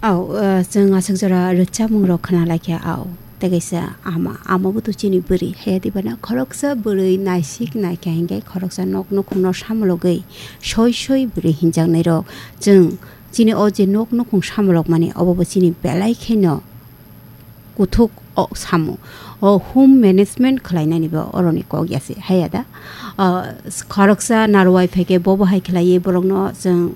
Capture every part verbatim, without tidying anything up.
Au, uh, chwng aswk jora rwchapmung rok khna laikha, au. Tei kaisa ama, ama bo to chini bwrwi. Haya dibana khoroksa bwrwi naisik naikha hinkhe khoroksa nok nukhungno samologwi soi soi bwrwi hinjaknai rok. Chwng chini o je nok nukhung samolok mani obo bo chini belai kheno kuthuk o samo. O home management khlainani bo oroni kok ya se. Haya da? Uh, khoroksa narwai phaikhe bobo hai khlaiwi borokno chwng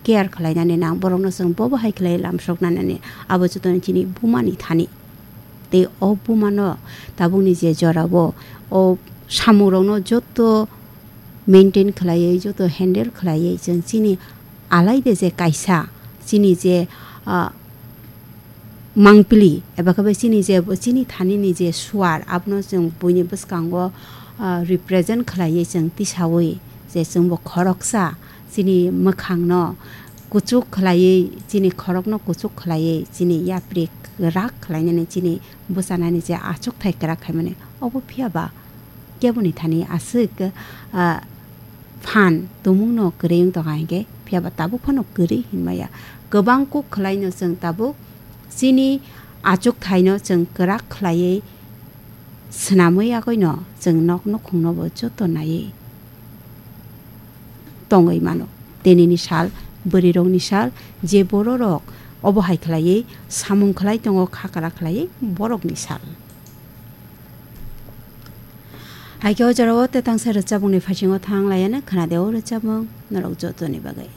care khlainani nang, borokno chwng bobo hai khlai lamsoknani, abo jotono chini bumani thani. Tei o bumano tabukni je jorao o samungrokno joto maintain khlaiwi, joto handle khlaiwi chwng chini alaide je kaisa chini je, ah, mangpili eba khe bai chini je, chini thanini je suar, abono chwng buini bwskango, ah, represent khlaiwi chwng tisaui je chwngbo khoroksa chini mwkhangno kuchuk khlaiwi, chini khorokno kuchuk khlaiwi, chini yapri kwrak khlainani, chini bwchanani je achukthai kwrak khaimani, obo phiya ba keboni thani aswk, ah, phan tumungno kwrwi wng tongkha hinkhe, phiya ba tabuk phano kwrwi hinmaya. Kwbang kuk khlaino chwng tabuk chini achukthaino chwng kwrak khlaiwi swnamwi yakoino chwng nok nukhungno bo joto naiwi tongwi mano. Tenini sal, bwrwirokni sal, je bororok obo hai khlaiwi samung khlai tongo, kha kwrak khlaiwi borokni sal. Hai khe o jorao tetangsa rwchapmungni phasingo thang laiya no khna de o rwchapmung norok jotoni bagwi.